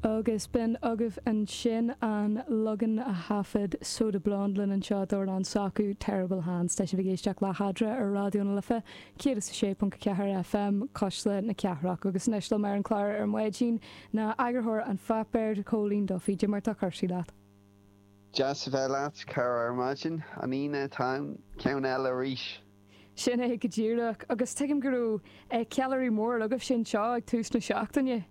Agus b'in agaibh ansin an leagan a thaifead Soda Blonde linn anseo d'amhrán s'acu, Terrible Hands. Tá sibh ag éisteacht le hEadra ar Raidió na Life, 106.4 FM, Cuisle na Cathrach. Agus anois liom ar an chlár ar maidin ná eagarthóir An Pháipéir, Cóilín Duffy. Cad é mar tá cúrsaí leat? Deas a bheith leat, a chara, ar maidin. An Aoine atá ann, ceann eile arís. Sin é go díreach. Agus tuigim go raibh ceiliúradh mór agaibhse anseo ag tús na seachtaine.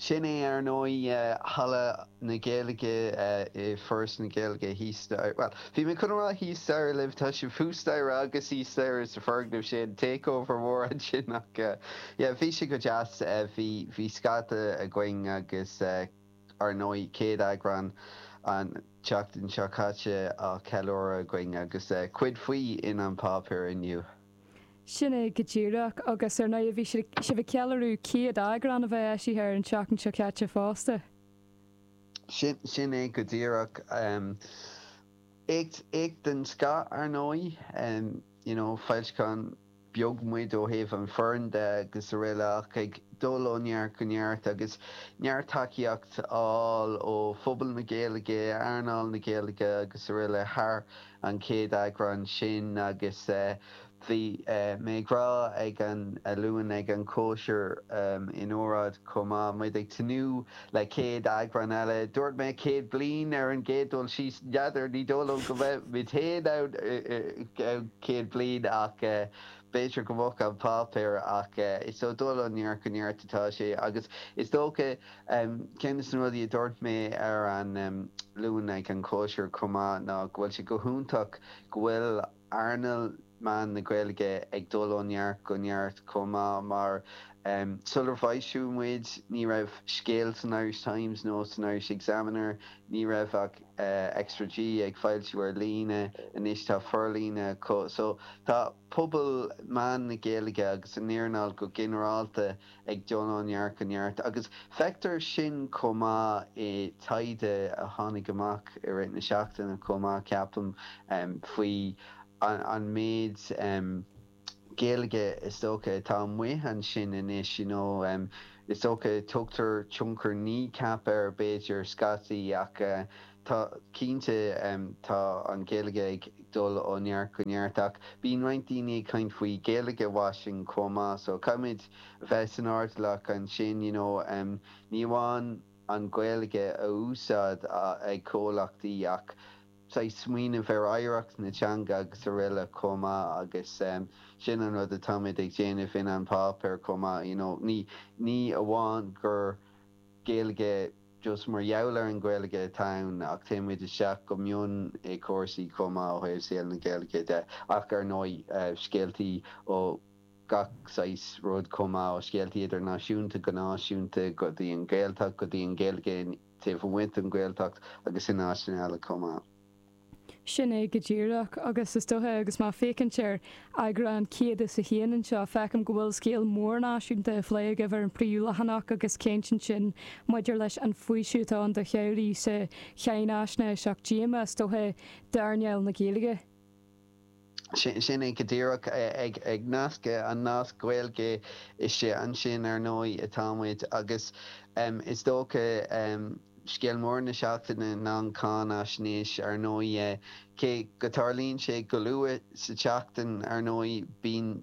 Sin é, ar ndóigh, Halla na Gaeilge i Foras na Gaeilge thíos staighre. Bhuel, bhí mé chun a rá thíos staighre libh, tá sibh thuas staighre agus thíos staighre sa foirgneamh sin, takeover mór ansin ach yeah, bhí sé go deas, bhí, bhí scata againn agus ar ndóigh céad eagrán an tseachtain seo caite á cheiliúradh againn agus cuid faoi in An Páipéar inniu. Sin é go díreach, agus ar ndóigh bhí sibh ag ceiliúradh 100 eagrán a bheith eisithe ar an tseachtain seo caite fosta. Sin é go díreach. Éacht den scoth, ar ndóigh. You know, foilseachán beag muid ó thaobh an foireann de agus araile ach ag dul ó neart go neart agus neart tacaíocht á fháil ó phobal na Gaeilge, earnáil na Gaeilge agus araile thar an chéad eagrán sin agus bhí mé ag rá ag an Luan ag an chóisir in óráid chomh maith, muid ag tnúth le 100 eagrán eile. Dúirt mé 100 bliain ar an gcéad dul síos, n'fheadar, ní dóigh liom go mbeidh muid féin ann i gceann 100 bliain ach b'fhéidir go mbeadh an páipéar ach is ag dul ó neart go neart atá sé agus is dócha Ceann de na rudaí a dúirt mé ar an Luan ag an chóisir chomh maith ná go bhfuil sé go hiontach go bhfuil earnáil meán na Gaeilge ag dul ó neart go neart chomh maith mar sular foilsíodh muid ní raibh scéal san Irish Times nó san Irish Examiner, ní raibh ach Extra G ag foilsiú ar líne, anois tá forlíonadh acu. So tá pobal meán na Gaeilge agus an earnáil go ginearálta ag dul ó neart go neart agus feictear sin chomh maith i taighde a tháinig amach i rith na seachtaine chomh maith, ceapaim, faoi an méid Gaeilge is dócha atá amuigh ansin anois, you know. Is dócha tugtar tionchar Kneecap air b'fhéidir scaití ach tá cinnte tá an Ghaeilge ag dul ó neart go neart ach bíonn roinnt daoine ag caint faoi Gaeilge washing chomh maith so caithfimid a bheith san airdeallach ansin you know ní amháin an Ghaeilge a úsáid ag comhlachtaí ach saghas smaoineamh ar oidhreacht na teanga agus araile chomh maith agus sin an rud atáimid ag déanamh in An Páipéar chomh maith you know ní ní amháin gur Gaeilge just mar gheall ar an Ghaeilge atá ann ach téann muid isteach go mion i cúrsaí chomh maith ó thaobh saol na Gaeilge de ach ar ndóigh scéaltaí ó gach saghas rud chomh maith, ó scéaltaí idirnáisiúnta go náisiúnta go dtí an Ghaeltacht, go dtí an Ghaeilge taobh amuigh den Ghaeltacht agus in áiteanna eile chomh maith. Sin é go díreach, agus is dócha, agus mé ag féachaint ar eagrán 101 anseo, feicim go bhfuil scéal mór náisiúnta á phlé agaibh ar an bpríomhleathanach agus caint ansin maidir leis an bhfaoiseamh atá ann do theaghlaigh sa cháinaisnéis ach díomá, is dócha, d'earnáil na Gaeilge. Sin é go díreach. Ag nascadh an nasc Gaeilge istigh ansin, ar ndóigh, atá muid agus is dócha, Scéal mór na seachtaine ná an cháinaisnéis, ar ndóigh. Cé go dtarlaíonn sé go luath sa tseachtain, ar ndóigh, bíonn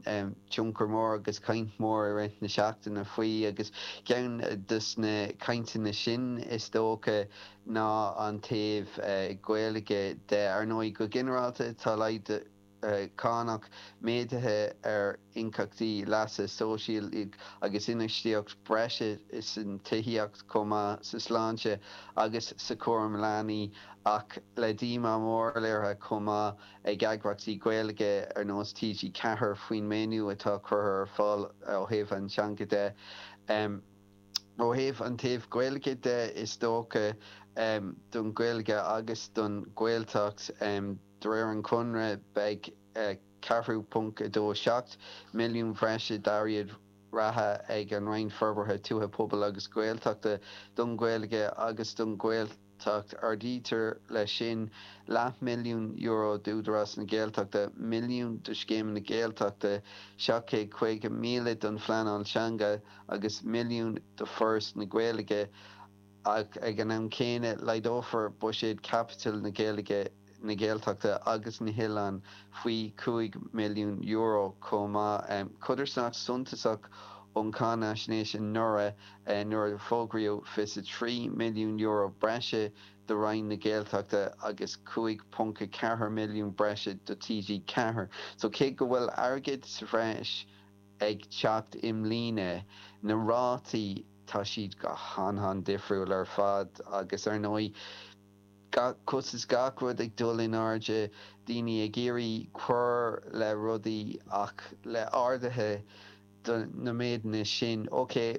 tionchar mór agus caint mhór i rith na seachtaine faoi agus ceann dos na cainteanna sin, is dócha, ná an taobh Gaeilge de. Ar ndóigh, go ginearálta, tá laghdú. cánach méadaithe ar íocaíochtaí leasa sóisialaigh agus infheistíocht bhreise san tithíocht chomh maith sa sláinte agus sa chúram leanaí ach le díomá mór léirithe chomh maith ag eagraíochtaí Gaeilge ar nós TG4 faoin maoiniú atá curtha ar fáil ó thaobh an teanga de. Ó thaobh an taobh Gaeilge de is dócha don Ghaeilge agus don Ghaeltacht, De réir an chonartha, beidh 4.27 milliún bhreise d'airgead reatha ag an Roinn Forbartha Tuaithe, Pobail agus Gaeltachta don Ghaeilge agus don Ghaeltacht. Ghaeltacht. Ardaítear leis sin leathmhilliún euro d'Údarás na Gaeltachta, milliún do Scéimeanna Gaeltachta, 750,000 don phleanáil teanga agus milliún do Foras na Gaeilge ach ag an am céanna laghdófar buiséad caipitil na Gaeilge, na Gaeltachta agus na nOileán faoi €5 milliún chomh maith. Codarsnacht suntasach ón cháinaisnéis anuraidh nuair a fógraíodh €23 milliún breise do Roinn na Gaeltachta agus 5.4 milliún breise do TG4. So cé go bhfuil airgead sa bhreis ag teacht i mbliana, na rátaí, tá siad go han-han-difriúil ar fad agus ar ndóigh, costas gach rud ag dul in airde, daoine ag iarraidh cur le rudaí ach le arduithe do na méideanna sin, ok,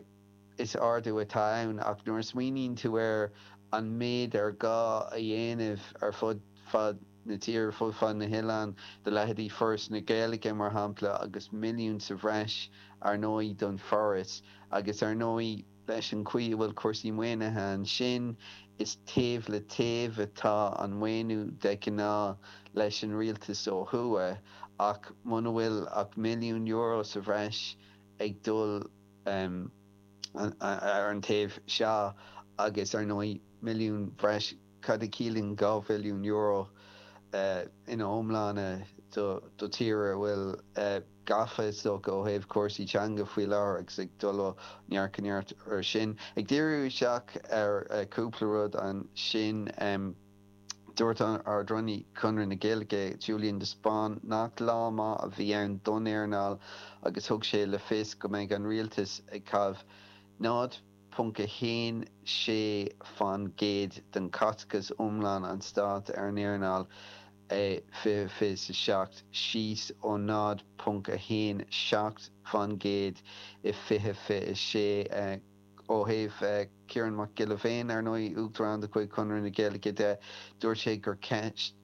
is ardú atá ann ach nuair a smaoiníonn tú ar an méid ar gá a dhéanamh ar fud fad na tíre, ar fud fad na hoileáin, do leithéidí Foras na Gaeilge mar shampla agus milliún sa bhreis ar ndóigh don Foras agus ar ndóigh, Leis an chaoi a bhfuil cúrsaí maoinithe ansin, is taobh le taobh atá an maoiniú de ghnáth leis an rialtas ó thuaidh, ach muna bhfuil ach €1 milliún sa bhreis ag dul ar an taobh seo agus ar ndóigh milliún breis Cad a chiallaíonn €2 bhilliún ina iomláine do tír a bhfuil gafa is dócha ó thaobh cúrsaí teanga faoi láthair agus ag dul ó neart go neart ar sin. Ag díriú isteach ar chúpla rud ansin, dúirt Ard-Rúnaí Chonradh na Gaeilge, Julian de Spáinn, nach lá maith a bhí ann don earnáil agus thug sé le fios go mbeidh an rialtas ag caitheamh 0. 0.16% den chaiteachas iomlán an stáit ar an earnáil i 2027, síos ó 0.17% i 2026. Ó thaobh Ciarán Mac Giolla Bhéin, ar ndóigh, Uachtarán de chuid Chonradh na Gaeilge de, dúirt sé gur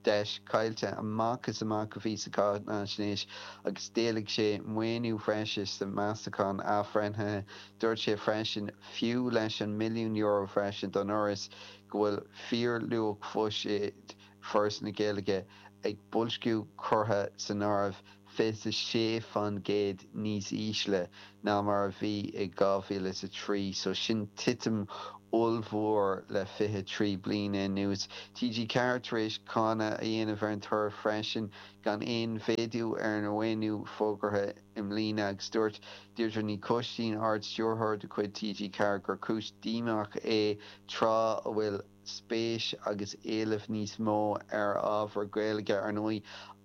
deis chaillte amach is amach a bhí sa cháinaisnéis agus d'éiligh sé maoiniú breise sa Mheastachán athbhreithnithe. Dúirt sé freisin, fiú leis an €1 milliún bhreise don Fhoras, go bhfuil fíorluach bhuiséad Foras na Gaeilge, ag boilsciú curtha san áireamh, 26% níos ísle ná mar a bhí i 2003. So sin titim ollmhór le 23 bliana anuas. TG4 tar éis cáineadh a dhéanamh ar an toradh freisin, gan aon mhéadú ar an mhaoiniú fógartha. i mbliana agus dúirt Deirdre Ní Choistín, Ard-Stiúrthóir de chuid TG4 gur cúis díomách é tráth a bhfuil spéis agus éileamh níos mó ar ábhar Gaeilge. Ar ndóigh,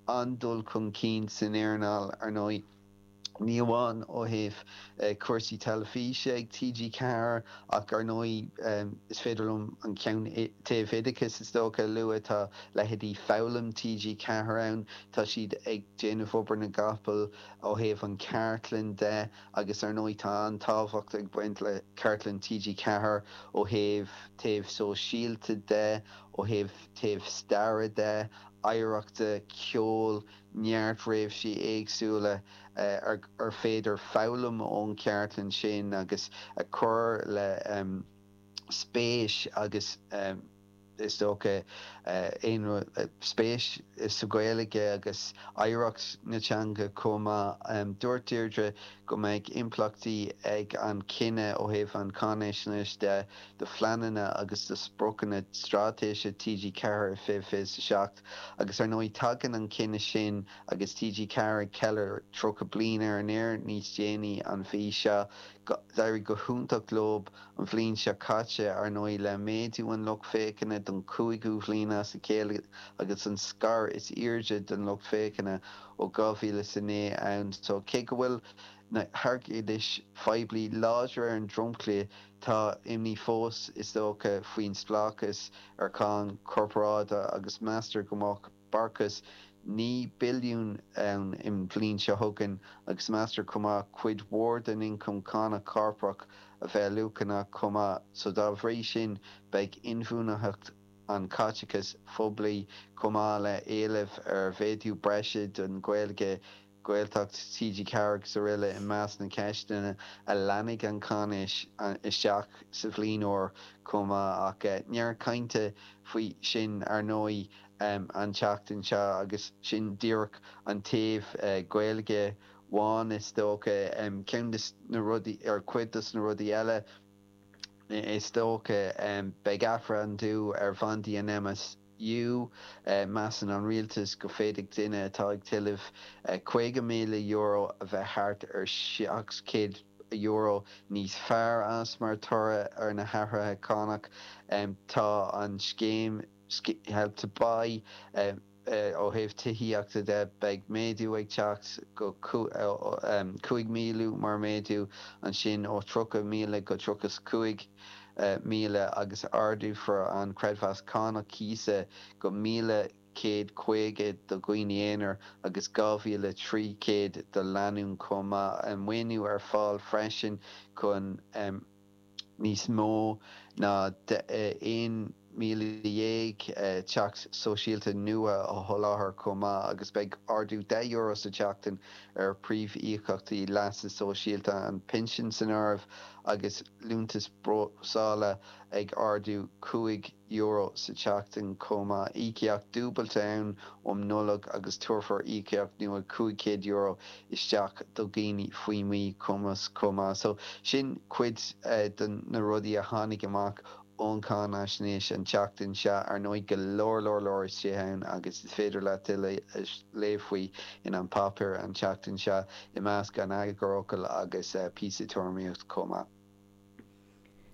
an-dul chun cinn san earnáil, ar ndóigh, ní amháin ó thaobh cúrsaí teilifíse ag TG4 ach ar ndóigh is féidir liom an ceann taobh oideachais is dócha a lua, tá leithéidí Foghlaim TG4 ann, tá siad ag déanamh obair na gcapall ó thaobh an chartlann de agus ar ndóigh tá an-tábhacht ag baint le cartlann TG4 ó thaobh taobh sóisialta de, ó thaobh taobh staire de, oidhreachta, ceoil, neart réimsí éagsúla ar féidir foghlaim ón chartlann sin agus a chur le spéis agus is dócha aon rud, spéis sa Ghaeilge agus oidhreacht na teanga chomh maith. Dúirt Deirdre go mbeidh impleachtaí ag an chinneadh ó thaobh an cháinaisnéis de do phleananna agus do spriocanna straitéise TG4 i 2027 agus ar ndóigh tagann an cinneadh sin agus TG4 ag ceiliúradh 30 bliain ar an aer níos déanaí an mhí seo. D'éirigh go hiontach leo an bhliain seo caite, ar ndóigh, le méadú an lucht féachana don chúigiú bhliain as a chéile agus an scair is airde den lucht féachana ó 2009 ann. So cé go bhfuil na hairgeadais phoiblí láidir ar an dromchla, tá imní fós, is dócha, faoin spleáchas ar cháin chorparáide agus meastar go mbeadh barrachas 9 billiún ann an bhliain seo chugainn agus meastar chomh maith cuid mhór den ioncam cánach corprach a bheith luaineach chomh maith so dá bhrí sin beidh inbhuanaitheacht an chaiteachais phoiblí chomh maith le éileamh ar mhéadú breise don Ghaeilge. Gaeltacht, TG4 agus araile i measc na ceisteanna a leanfaidh an cháinaisnéis isteach sa bhliain úr chomh maith ach neart cainte faoi sin ar ndóigh an tseachtain seo agus sin díreach an taobh Gaeilge amháin is dócha. Ceann de na rudaí, ar cuid dos na rudaí eile is dócha, beidh athbhreithniú ar bhandaí an MS. U. Measann an rialtas go bhféadfadh duine atá ag tuilleamh €50,000 a bheith thart ar €700 níos fearr as mar thoradh ar na hathruithe cánach. Tá an scéim Help to Buy ó thaobh tithíochta de, beidh méadú ag teacht go 5,000 mar méadú ansin ó 30,000 go 35. 1,000 agus ardófar an creidmheas cánach cíosa go 1,150 do dhaoine aonair agus 2,300 do lánúin chomh maith. Maoiniú ar fáil freisin chun níos mó ná 11,000 teach sóisialta nua a sholáthar chomh maith agus beidh ardú €10 sa tseachtain ar phríomh-íocaíochtaí leasa sóisialta, an pinsean san áireamh, agus liúntas brabhsála ag ardú €5 sa tseachtain chomh maith. Íocaíocht dúbailte ann um Nollaig agus tabharfar íocaíocht nua €500 isteach do dhaoine faoi mhíchumas chomh maith. So sin cuid de na rudaí a tháinig amach ón cháinaisnéis an tseachtain seo. Ar ndóigh, go leor leor leor istigh ann agus is féidir leat tuilleadh a léamh faoi in An Páipéar an tseachtain seo, i measc an eagarfhocail agus píosa tuairimíocht chomh maith.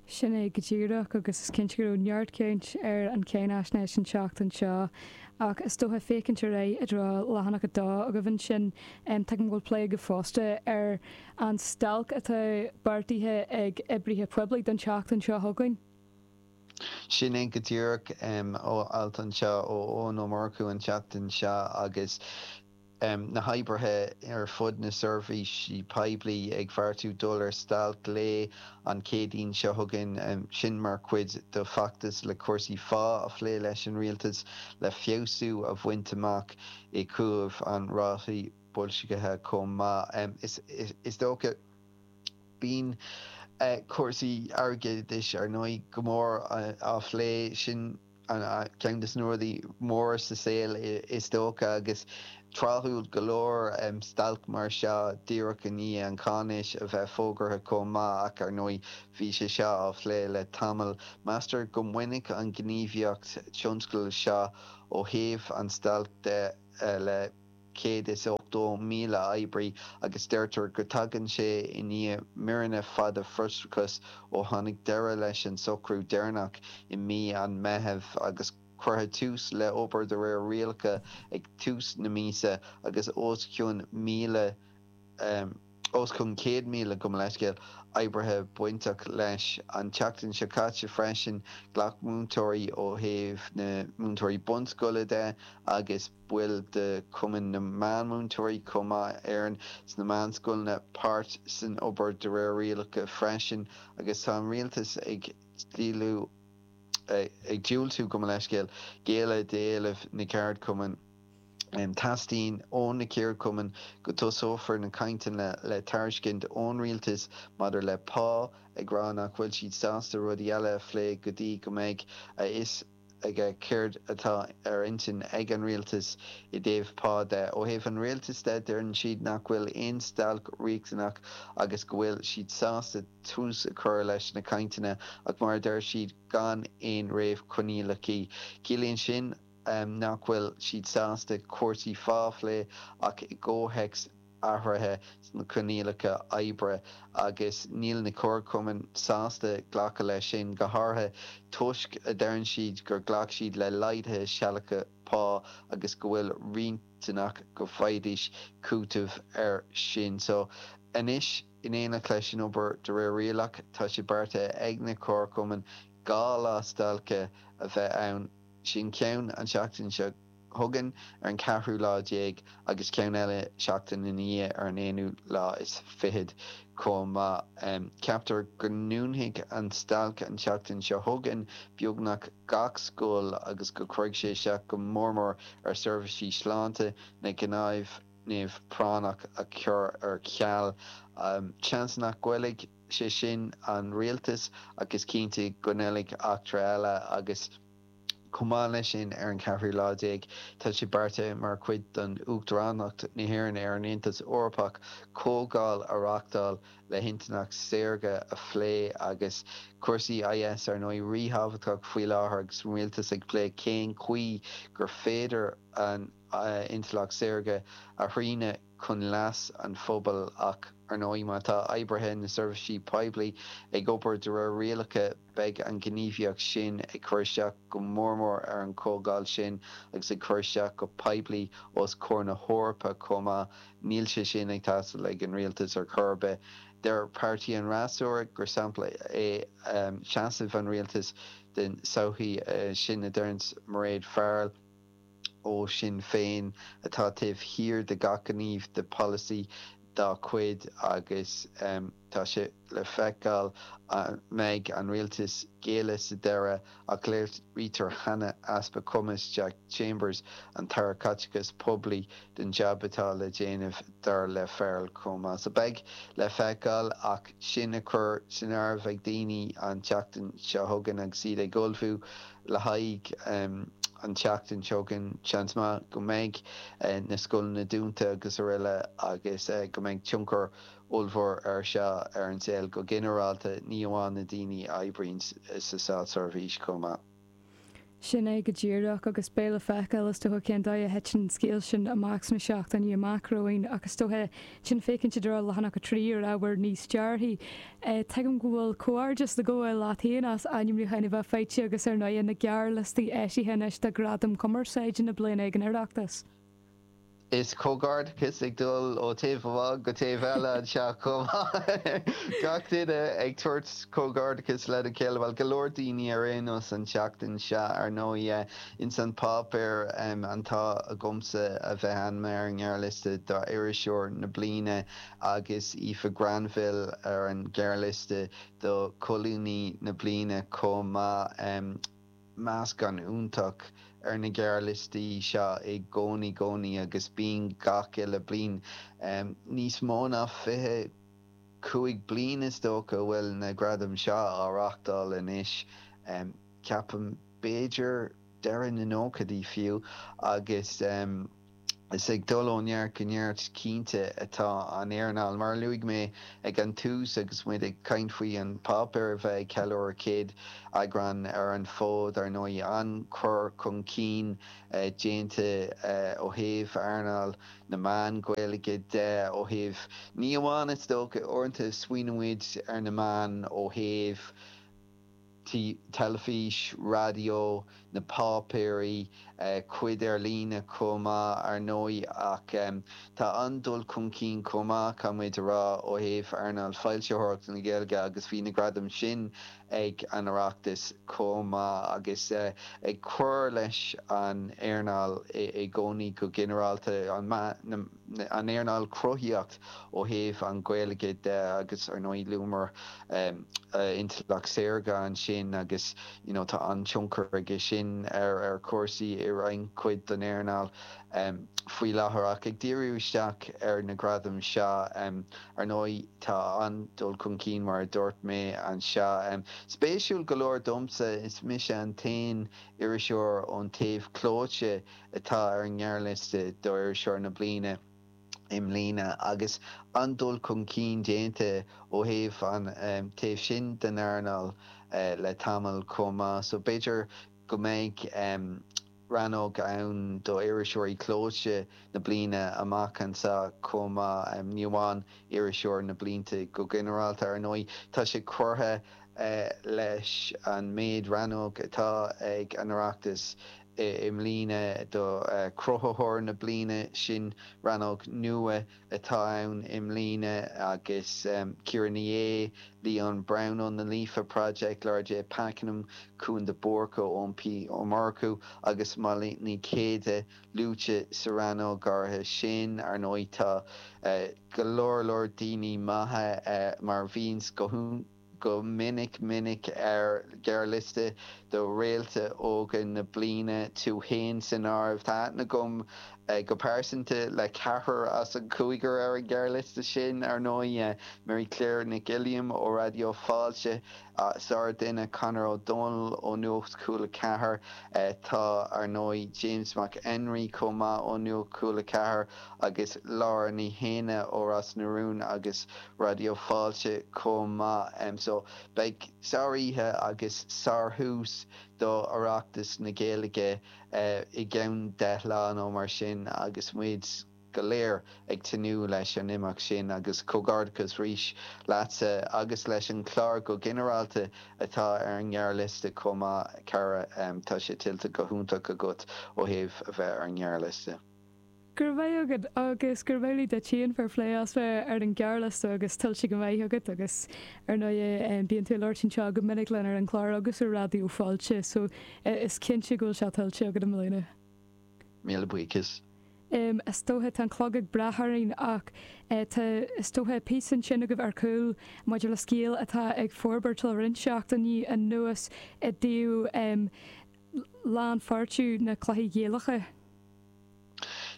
Sin é go díreach, agus is cinnte go raibh neart caint ar an cháinaisnéis an tseachtain seo. Ach is dócha, féachaint ar aghaidh i dtreo leathanach 2 agaibh ansin, tuigim go bhfuil plé agaibh fosta ar an stailc atá beartaithe ag oibrithe poiblí don tseachtain seo chugainn. Sin é go díreach, alt anseo ó Eoin Ó Murchú an tseachtain seo agus na hoibrithe ar fud na seirbhísí poiblí ag beartú dul ar stailc lae an Chéadaoin seo chugainn, sin mar chuid de feachtas le cúrsaí phá a phlé leis an rialtas le feabhsú a bhaint amach i dtaobh an rátaí boilscithe chomh maith. Is dócha, bíonn cúrsaí airgeadais ar ndóigh go mór á phlé, sin ceann de na rudaí móra sa saol is dócha agus tráthúil go leor stailc mar seo díreach i ndiaidh an cháinaisnéis a bheith fógartha chomh maith ach ar ndóigh bhí sé seo á phlé le tamall. Meastar go mbainfidh an ghníomhaíocht tionscail seo ó thaobh an stailc de le 180,000 oibrí agus deirtear go dtagann sé i ndiaidh míreanna fada frustrachais ó tháinig deireadh leis an socrú deireanach i mí an Mheithimh agus cuireadh tús le obair de réir rialacha ag tús na míosa agus os cionn 1,000 os cionn 100,000, gabh mo leithscéal, oibrithe bainteach leis. An tseachtain seo caite freisin, ghlac múinteoirí ó thaobh na múinteoirí bunscoile de agus baill de Chumann na Meánmhúinteoirí chomh maith, Éireann, sna meánscoileanna páirt san obair de réir rialacha freisin agus tá an rialtas ag diúltú, gabh mo leithscéal, géilleadh d'éilimh na gceardchumann. Teastaíonn ó na ceardchumainn go dtosófar na cainteanna le tairiscint ón rialtas maidir le pá, ag rá nach bhfuil siad sásta rudaí eile a phlé go dtí go mbeidh a fhios aige céard atá ar intinn ag an rialtas i dtaobh pá de. Ó thaobh an rialtais de, deireann siad nach bhfuil aon stailc riachtanach agus go bhfuil siad sásta tús a chur leis na cainteanna ach mar a deir siad gan aon réamhchoinníollacha. Ciallaíonn sin nach bhfuil siad sásta cúrsaí phá a phlé ach i gcomhthéacs athruithe sna coinníollacha oibre agus níl na comharchumainn sásta glacadh leis sin, go háirithe toisc, a deireann siad, gur ghlac siad le laghduithe sealadacha pá agus go bhfuil riachtanach go bhfaighidís cúiteamh air sin. So, anois, in éineacht leis an obair de réir rialach, tá sé beartaithe ag na comharchumainn 2 lá stailce a bheith ann. Sin ceann an tseachtain seo chugainn ar an cheathrú lá déag agus ceann eile seachtain ina dhiaidh ar an aonú lá is fichead chomh maith. Ceaptar go ndúnfaidh an stailc an tseachtain seo chugainn beagnach gach scoil agus go gcuirfidh sé isteach go mór mór ar seirbhísí sláinte, na gnáimh. tionscnamh práinneach a chur ar ceal. Seans nach gcoillfidh sé sin an rialtas ach is cinnte go ngoillfidh eachtra eile agus chomh maith leis sin ar an cheathrú lá déag tá sé beartaithe mar chuid den Uachtaránacht na hÉireann ar an Aontas Eorpach comhdháil a reáchtáil le hintleacht saorga a phlé agus cúrsaí IS ar ndóigh ríthábhachtach faoi láthair agus an rialtas ag plé cén chaoi gur féidir an intleacht saorga a shrianadh chun leas an phobail ach, ar ndóigh, má tá oibrithe na seirbhísí poiblí ag obair de réir rialacha, beidh an ghníomhaíocht sin ag cur isteach go mór mór ar an chomhdháil sin agus ag cur isteach go poiblí os comhair na hEorpa chomh maith. Níl sé sin ag teastáil ag an rialtas ar chor ar bith. Deir páirtí an fhreasúra gur sampla é seasamh an rialtais den tsochaí, sin a deireanns Mairéad Farrell. ó Sinn Féin atá taobh thiar de gach gníomh de pholasaí dá cuid agus tá sé le feiceáil an mbeidh an rialtas géilleadh sa deireadh ach léirítear cheana easpa cumais Jack Chambers, an tAire Caiteachais Poiblí, den jab atá le déanamh dar le Farrell chomh maith. So beidh le feiceáil ach sin a chur san áireamh ag daoine an tseachtain seo chugainn agus iad ag ullmhú le haghaidh an tseachtain seo chugainn, seans maith go mbeidh na scoileanna dúnta agus araile agus go mbeidh tionchar ollmhór air seo ar an saol go ginearálta, ní amháin na daoine a oibríonn sa státseirbhís chomh maith. Sin é go díreach, agus beidh le feiceáil is dócha cén dóigh a thiteann an scéal sin amach sna seachtainí amach romhainn ach is dócha sin féachaint i dtreo leathanach 3 ar ábhar níos dearfaí. Tuigim go bhfuil comhghairdeas le gabháil leat féin as ainmniúcháin a bheith faighte agus ar ndóigh na gearrliostaí eisithe anois do Ghradaim Cumarsáide na bliana ag an Oireachtas. Is comhghairdeachas ag dul ó taobh amháin go taobh eile anseo chomh maith. Gach duine ag tabhairt comhghairdeachas lena chéile, bhuel go leor daoine ar aon nós an tseachtain seo ar ndóigh. Ins an páipéar an t-ádh agamsa a bheith ainmnithe ar an ngearrliosta d'Iriseoir na Bliana agus Aoife Granville ar an ghearrliosta do Cholúnaí na Bliana chomh maith. Meascán iontach ar na gearrliostaí seo i gcónaí gcónaí agus bíonn gach uile bliain. Níos mó ná 25 bliain is dócha a bhfuil na gradaim seo á reáchtáil anois, ceapaim. b'fhéidir deireadh na nóchaidí fiú, agus is ag dul ó neart go neart cinnte atá an earnáil. Mar a luaigh mé ag an tús agus muid ag caint faoi An Páipéar a bheith ag ceiliúradh 100 eagrán ar an bhfód, ar ndóigh, an-chur chun cinn déanta ó thaobh earnáil na meán Gaeilge de, ó thaobh, ní amháin is dócha, uaireanta smaoiníonn muid ar na meáin ó thaobh, teilifís, raidió, na páipéirí, cuid ar líne chomh maith ar ndóigh ach tá an-dul chun cinn chomh maith, caithfidh muid a rá, ó thaobh earnáil foilsitheoireachta na Gaeilge agus bhí na gradaim sin ag an Oireachtas chomh maith agus ag cur leis an earnáil i gcónaí go ginearálta, an earnáil cruthaitheach ó thaobh an Ghaeilge de agus ar ndóigh luamar intleacht saorga ansin agus you know tá an-tionchar aige sin ar ar chúrsaí i roinnt cuid den earnáil faoi láthair. Ach ag díriú isteach ar na gradaim seo, ar ndóigh tá an-dul chun cinn mar a dúirt mé anseo. Spéisiúil go leor domsa, is mise an t-aon iriseoir ón taobh clóite atá ar an ngearrliosta d'Iriseoir na Bliana i mbliana agus an-dul chun cinn déanta ó thaobh an taobh sin den earnáil le tamall chomh maith. So b'fhéidir go mbeidh rannóg ann d'iriseoirí clóite na bliana amach anseo chomh maith, ní amháin iriseoir na blianta go ginearálta. Ar ndóigh tá sé curtha leis an méid rannóg atá ag an Oireachtas i mbliana do Chruthaitheoir na Bliana, sin rannóg nua atá ann i mbliana agus Ciara Ní É, Leon Brown ón The Líofa Project, Laura J Pakenham, Cúán de Búrca, Eoin P Ó Murchú agus Molly Ní Chéide luaite sa rannóg áirithe sin. Ar ndóigh tá go leor leor daoine maithe mar bhíonns go go minic minic ar ghearrliosta do Réalta Óga na Bliana, tú fhéin san áireamh. Tá aithne agam go pearsanta le ceathrar as an chúigear ar an ghearrliosta sin, ar ndóigh, Mary Claire Nic Uilliam ó Raidió Fáilte, sár-dhuine, Conor Ó Dónaill ó Nuacht Cúla 4, tá, ar ndóigh, James Mac Enrí chomh maith ó Nuacht Cúla 4 agus Laura Ní Shéaghdha ó Ros na Rún agus Raidió Fáilte chomh maith. So, beidh sár-oíche agus sár-thús do Oireachtas na Gaeilge i gceann 10 lá nó mar sin agus muid go léir ag tnúth leis an imeacht sin agus comhghairdeachas arís leatsa agus leis an chlár go ginearálta atá ar an ngearrliosta chomh maith, a chara. Tá sé tuillte go hiontach agat ó thaobh a bheith ar an ngearrliosta. Go raibh maith agat agus go raibh maith duit féin fair play as bheith ar an ghearrliosta agus tuillte go maith agat agus ar ndóigh bíonn tú ag labhairt anseo go minic linn ar an chlár agus ar Raidió Fáilte so is cinnte go bhfuil sé tuillte agat i mbliana. Míle buíochas. Is dócha, tá an clog ag brath orainn ach tá, is dócha, píosa ansin agaibh ar chúl maidir le scéal atá ag forbairt le roinnt seachtainí anuas i dtaobh lánpháirtiú na cluichí Gaelacha.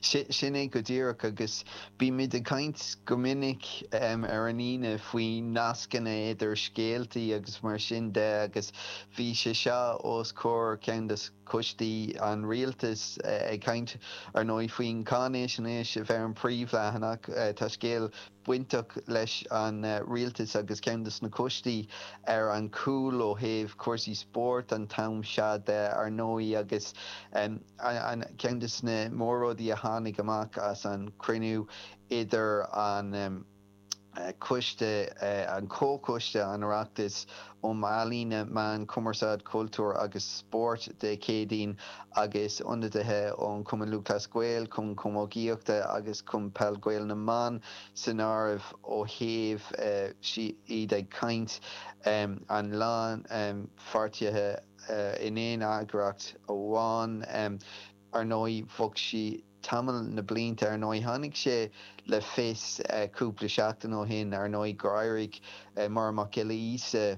Sin é go díreach agus bímid ag caint go minic ar an Aoine faoi nascanna idir scéaltaí agus mar sin de agus bhí sé seo os comhair ceann de choistí an rialtais ag caint ar ndóigh faoin cháinaisnéis a bheith ar an príomhleathanach. Tá scéal bainteach leis an rialtas agus ceann de na coistí ar an chúl ó thaobh cúrsaí spóirt an t-am seo de, ar ndóigh, agus ceann de na mór-rudaí a tháinig amach as an chruinniú idir an coiste, an Comhchoiste an Oireachtais um Ealaíona, Meáin, Cumarsáid, Cultúr agus Spórt Dé Céadaoin agus ionadaithe ón Chumann Lúthchleas Gael, Cumann Camógaíochta agus Cumann Peil Gael na mBan san áireamh ó thaobh iad ag caint an lánpháirtithe in aon eagraíocht amháin. Ar ndóigh bheadh sí tamall na blianta ar ndóigh. Tháinig sé le fios cúpla seachtain ó shin ar ndóigh gur éirigh Máire Mac Giolla Íosa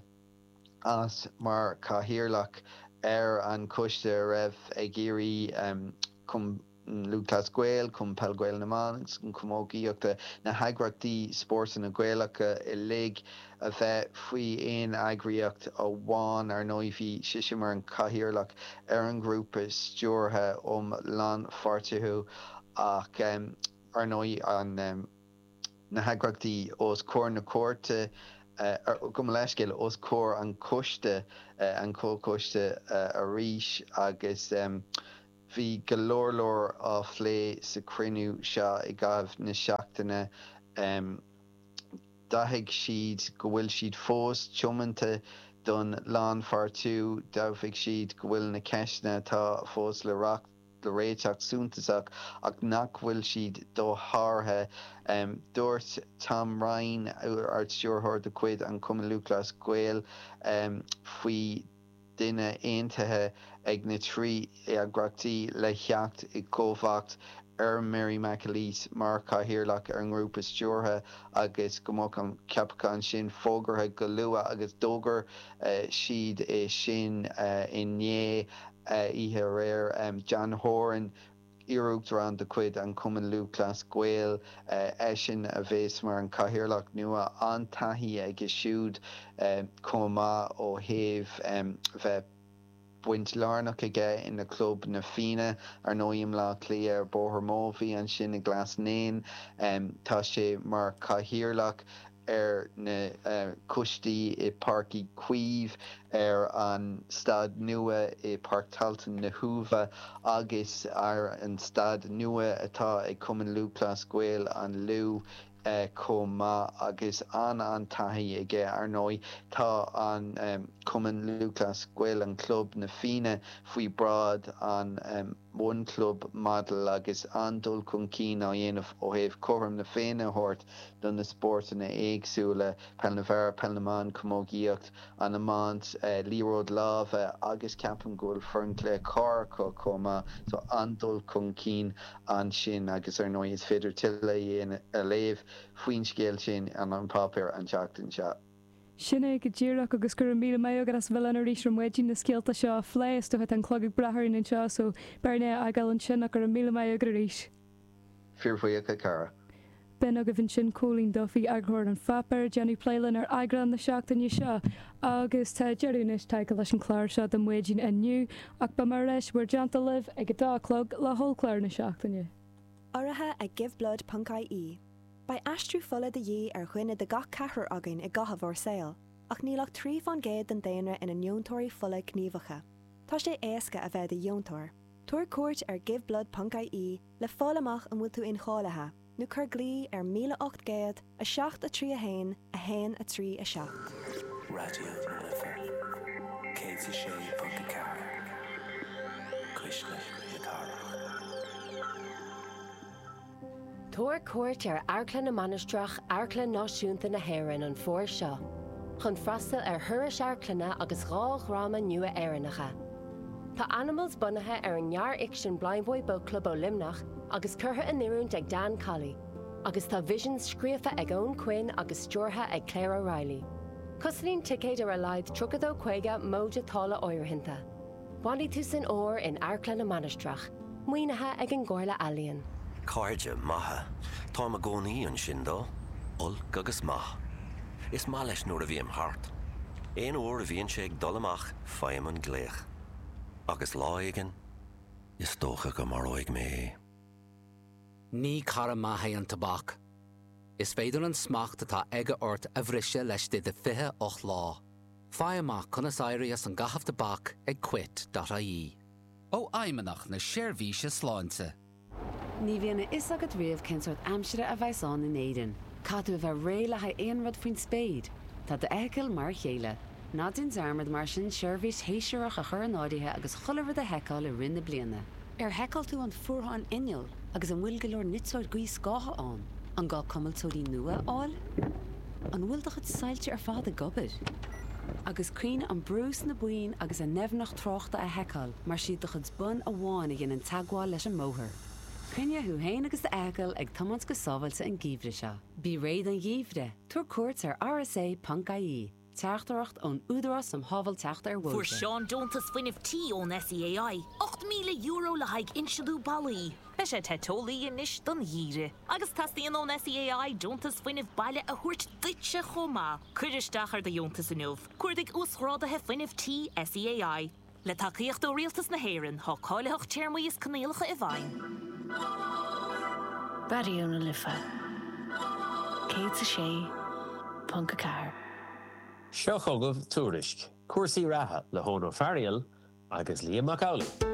as mar chathaoirleach ar an choiste a raibh ag iarraidh Cumann Lúthchleas Gael, Cumann Peil Gael na mBan agus an Chamógaíochta, na heagraíochtaí spórtanna Gaelacha uilig a bheith faoi aon eagraíocht amháin. Ar ndóigh bhí sise mar an chathaoirleach ar an ghrúpa stiúrtha um lánpháirtiú ach ar ndóigh an na heagraíochtaí os comhair na cúirte, gabh mo leithscéal, os comhair an choiste, an comhchoiste arís agus bhí go leor leor á phlé sa chruinniú seo i gcaitheamh na seachtaine. D'admhaigh siad go bhfuil siad fós tiomanta don lánpháirtiú, d'admhaigh siad go bhfuil na ceisteanna atá fós le réiteach suntasach ach nach bhfuil siad dosháraithe. Dúirt Tom Ryan, Ard-Stiúrthóir de chuid an Chumainn Lúthchleas Gael, faoi duine aontaithe ag na 3 eagraíochtaí le theacht i gcomhbhacht ar Mary McAleese mar chathaoirleach ar an ngrúpa stiúrtha agus go mbeadh an ceapachán sin fógartha go luath agus d'fhógair siad é sin inné, oíche aréir. John Horan. Iar-Uachtarán de chuid an Chumainn Lúthchleas Gael, eisean a bheas mar an chathaoirleach nua. An-taithí aige siúd chomh maith ó thaobh bheith baint lárnach aige ina chlub Na Fianna, ar ndóigh i mBleá Cliath ar Bhóthar Mobhí ansin i gCleas nÉan. Tá sé mar chathaoirleach ar na coistí i Páirc Uí Chaoimh, ar an staid nua i Páirc Tailteann na hUaimhe agus ar an staid nua atá ag Cumann Lúthchleas Gael an Lú chomh maith agus an-an-taithí aige. Ar ndóigh tá an Cumann Lúthchleas Gael, an club, Na Fianna faoi bhráid an One Club Model agus an-dul chun cinn á dhéanamh ó thaobh cothrom na Féinne a thabhairt do na spórtanna éagsúla, peil na bhfear, peil na mban, camógaíocht, an iomáint, liathróid láimhe agus ceapaim go bhfuil foireann cluiche corr acu chomh maith so an-dul chun cinn ansin agus ar ndóigh is féidir tuilleadh a léamh faoin scéal sin in An Páipéar an tseachtain seo. Sin é go díreach agus go raibh míle maith agat as a bheith linn arís ar maidin na scéalta seo a phlé. Is dócha tá an clog ag brath orainn anseo so beidh orainn é a fhágáil ansin ach go raibh míle maith agat arís. Fíorbhuíoch, a chara. B'in agaibh ansin Cóilín Duffy, eagarthóir An Pháipéir, ag déanamh plé linn ar eagrán na seachtaine seo. Agus tá deireadh anois tagtha leis an chlár seo do maidin inniu, ach beidh mé ar ais i bhur dteannta libh ag a dó a chlog le hollchlár na seachtaine. Urraithe ag Giveblood ponc ie. Beidh aistriú fola de dhíth ar dhuine de gach ceathrar againn i gcaitheamh ár saoil, ach níl ach 3 fán gcéad den daonra ina ndeontóirí fola gníomhacha. Tá sé éasca a bheith i do dheontóir. Tabhair cuairt ar giveblood ponc ie le fáil amach an bhfuil tú incháilithe, nó cuir glao ar 1800 7 3 1 1 3 7. Raidió na Life 106.4, Cuisle na Cathrach. Tabhair cuairt ar Amharclann na Mainistreach, Amharclann Náisiúnta na hÉireann an fómhar seo, chun freastal ar thurais amharclainne agus 2 dhráma nua Éireannacha. Tá Animals bunaithe ar an ngearrfhicsean Blindboy Boatclub ó Luimneach agus curtha in oiriúint ag Dan Colley, agus tá Visions scríofa ag Eoin Quinn agus stiúrtha ag Claire O'Reilly. Cosnaíonn ticéid ar a laghad 32.50 móide táille áirithinte. Bainfidh tú san fhómhar in Amharclann na Mainistreach, maoinithe ag an gComhairle Ealaíon. Cairde maithe. Táim i gcónaí ansin dó, olc agus maith. Is maith leis nuair a bhím thart. Aon uair a bhíonn sé ag dul amach faighim an glaoch. Agus lá éigin, is dócha go maróidh mé é. Ní cara maith é an tobac. Is féidir an smacht atá aige ort a bhriseadh laistigh de 28 lá. Faigh amach conas éirí as an gcaitheamh tobac ag quit dot ie. Ó Fheidhmeannacht na Seirbhíse Sláinte. Ní bhíonn a fhios agat riamh cén sórt aimsire a bheas ann in Éirinn. Caithfidh tú a bheith réidh le haghaidh aon rud faoin spéir. Tá d'fheithicil mar a chéile. Ná déan dearmad mar sin seirbhís shéasúrach a chur in áirithe agus chuile rud a sheiceáil i rith na bliana. Ar sheiceáil tú an fuarthán inneall agus an bhfuil go leor niteoir gaothscátha ann? An gá cuimilteoirí nua a fháil? An bhfuil do chuid soilse ar fad ag obair? Agus cuimhnigh an brú sna boinn agus a ndoimhneacht tráchta a sheiceáil mar 's iad do chuid bonn amháin a dhéanann teagmháil leis an mbóthar. Coinnigh thú féin agus d'fheithicil ag tiomáint go sábháilte an geimhreadh seo. Bí réidh don gheimhreadh, tabhair cuairt ar rsa.ie. Teachtaireacht ón Údarás um Shábháilteacht ar Fuair Bhóithre. Seán deontas fuinnimh tí ón SEAI, €8,000 le haghaidh insealú ballaí. Beidh sé te teolaí anois don gheimhreadh. Agus teastaíonn ón SEAI deontas fuinnimh baile a thabhairt duitse chomh maith. Cuir isteach ar do dheontas inniu. Cuardaigh Uasghráduithe Fuinnimh Tí SEAI. Le tacaíocht ó Rialtas na hÉireann, tá cáilitheacht, téarmaí is coinníollacha i bhfeidhm. Raidió na Life 106.4. Seo chugaibh Tuairisc, cúrsaí reatha le hEoin Ó Fearghail agus Liam Mac Amhlaigh.